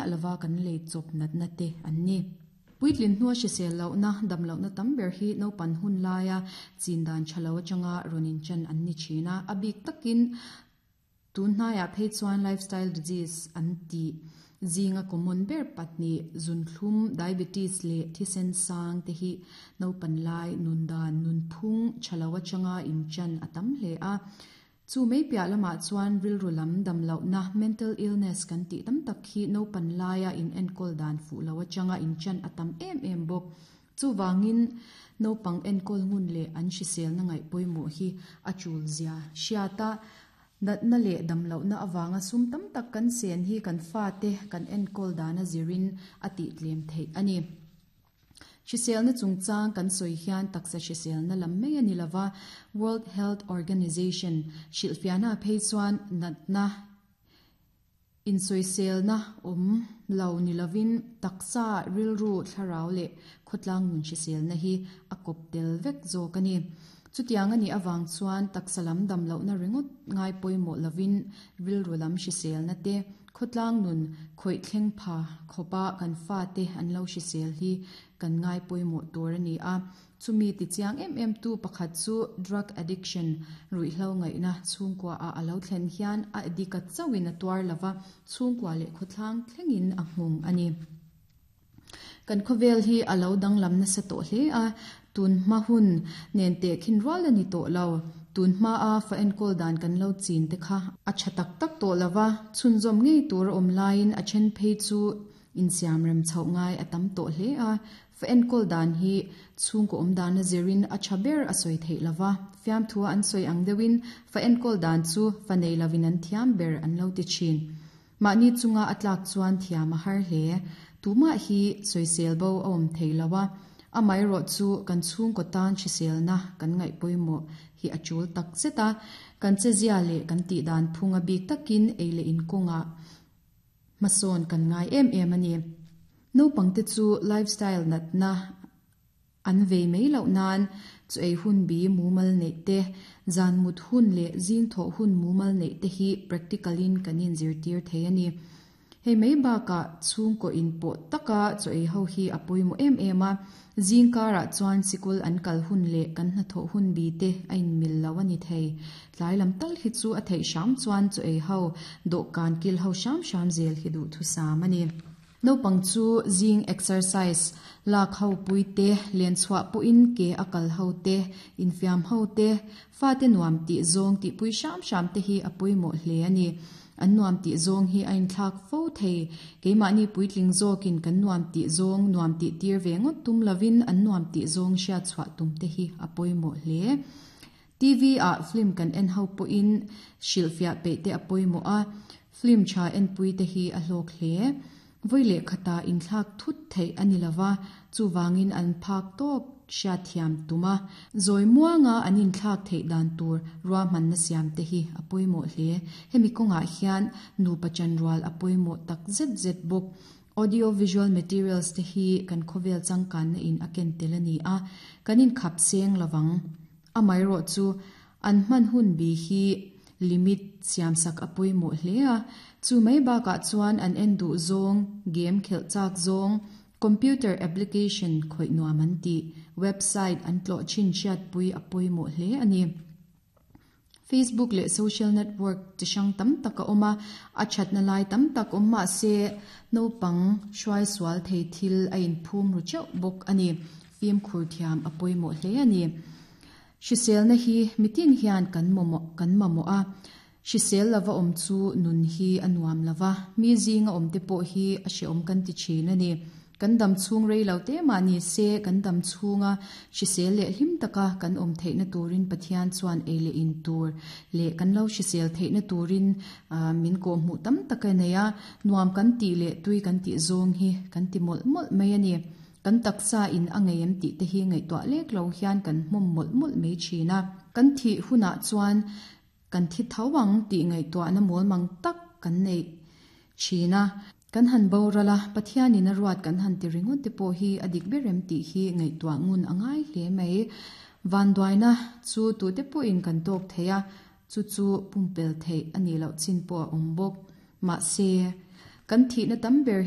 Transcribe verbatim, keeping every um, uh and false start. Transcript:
miah lova kan lei chawp natna te an ni. Puitlin hnua hrisel lohna, dam lohna tam ber hi naupan hun laia chin dan tha lo atanga rawn inchan an ni thin a. A bik takin tun hnaiah phei chuan lifestyle disease an tih zinga common ber pahnih zunthlum, diabetes leh thisen sang te hi naupan lai nun dan nunphung tha lo atanga inchan a tam hle a. Chu mai piah lamah chuan rilru lam dam lohna, mental illness kan tih tam tak hi naupan laia in enkawl dan fuh lo atanga inchan a tam em em bawk. Chuvangin naupang enkawl ngun leh an hriselna ngaih pawimawh hi a tul zia hriata natna leh dam lohna avanga sum tam tak kan sen hi kan fate kan enkawl dana zirin a tih tlem theih a ni. Hriselna chungchang kan sawi hian taksa hriselna lam mai a ni lova, World Health Organization hrilhfiahna phei chuan natna insawiselna awm lo ni lovin taksa rilru thlarau leh khawtlang nun hriselna hi a kawp tel vek zawk a ni. Chutiang a nih avang chuan taksa lam dam lohna ringawt ngai pawimawh lovin rilru lam hriselna te khawtlang nun khawih thleng pha khawpa kan fate an lo hrisel hi kan ngai pawimawh tur a ni a. Chumi tichiang em em tu pakhat chu drug addiction ruihhlo ngaihna chhungkua a alo thlen hian a addict a chauhin a tuar lova chhungkua leh khawthlang thlengin a nghawng a ni. Kan khawvel hi alo danglam nasa tawh hle a, tun hma hun nen te khin rual a ni tawh lo. Tun hma a fa enkawl dan kan lo chin te kha a tha tak tak tawh lova, chhunzawm ngei tur a awm laiin a then phei chu insiam rem chhoh ngai a tam tawh hle a. Fa enkawl dan hi chhungkaw awm dan a zirin a tha ber a sawi theih lova, fiamthu an sawi ang deuhin fa enkawl dan chu fa nei lovin an thiam ber an lo ti thin. Mahni chunga a tlak chuan thiam a har hle. Tumah hi sawisel bo a awm thei loa, amaherawh chu kan chhungkaw tan hriselna kan ngaih pawimawh hi a tul tak zet a. Kan che zia leh kan tih dan phung a bik takin ei leh in kawngah hmasawn kan ngai em em a ni. Naupang te chu lifestyle natna an vei mai loh nan chu ei hun bi mumal neih te, zan mut hun leh zing thawh hun mumal neih te hi practical in kan inzirtir thei a ni. Hei mai bakah chhungkaw in pawh taka chaw ei ho hi a pawimawh em em a. Zing karah chuan sikul an kal hun leh kan hnathawh hun bi te a inmil lo a ni thei. Tlai lam tal hi chu a theih hram chuan chaw ei ho dawhkan kil ho hram hram zel hi duh thusam a ni. Naupang chu zing exercise lak ho pui te, len chhuah pawhin ke a kal ho te, infiam ho te, fate nuam tih zawng tih pui hram hram te hi a pawimawh hle a ni. An nuam tih zawng hi a inthlak fo thei. Keimahni puitling zawkin kan nuam tih zawng nuam tih tir ve ngawt tum lovin an nuam tih zawng hriat chhuah tum te hi a pawimawh hle. T V a film kan en ho pawhin hrilhfiah peih te a pawimawh a, film tha en pui te hi a hlawk hle. Voi leh khata inthlak thut theih a ni lova, chuwangin an phak tawk hriat thiam tuma zawi muanga an inthlak theih dan tur ruahmanna siam te hi a pawimawh hle. Hemi kawngah hian nupa chanrual a pawimawh tak zet zet bawk. Audio visual materials te hi kan khawvel changkanna in a ken tel a ni a, kan inkhap seng lovang. Amaherawh chu an hman hun bi hi limit siam sak a pawimawh hle a. Chu mai bakah chuan an en duh zawng, game khelh chak zawng, computer application khawih nuam an tih, website an tlawh thin hriat pui a pawimawh hle a ni. Facebook leh social network chi hrang tam tak a awm a, a thatna lai tam tak awm mah se naupang hruai sual thei thil a inphum ru teuh bawk a ni. Fimkhur thiam a pawimawh hle a ni. Hriselna hi mitin hian kan mamawh kan mamawh a, hrisel lova awm chu nun hi a nuam lova, mi zinga awm te pawh hi a hreawm kan ti thin a ni. Kan dam chhung rei lo te mah ni se kan dam chhunga hrisel leh hlim taka kan awm theihna turin Pathian chuan ei leh in tur leh kan lo hrisel theihna turin min kawh hmuh tam tak a nei a, nuam kan tih leh tui kan tih zawng hi kan ti mawlh mawlh mai a ni. Kan taksa in a ngei em tih te hi ngaihtuah lek lo hian kan hmawm mawlh mawlh mai thin a. Kan thih hunah chuan kan thi tho ang tih ngaihtuahna mawl mang tak kan nei thin a. Kan han bo rala Pathian in a ruat kan han ti ringawt te pawh hi a dik ber em tih hi ngaihtuah ngun a ngai hle mai. Vanduaina chu tu te pawhin kan tawk thei a, chu chu pumpel theih a nih loh chin pawh a awm bawk. Mahse kan thihna tam ber hi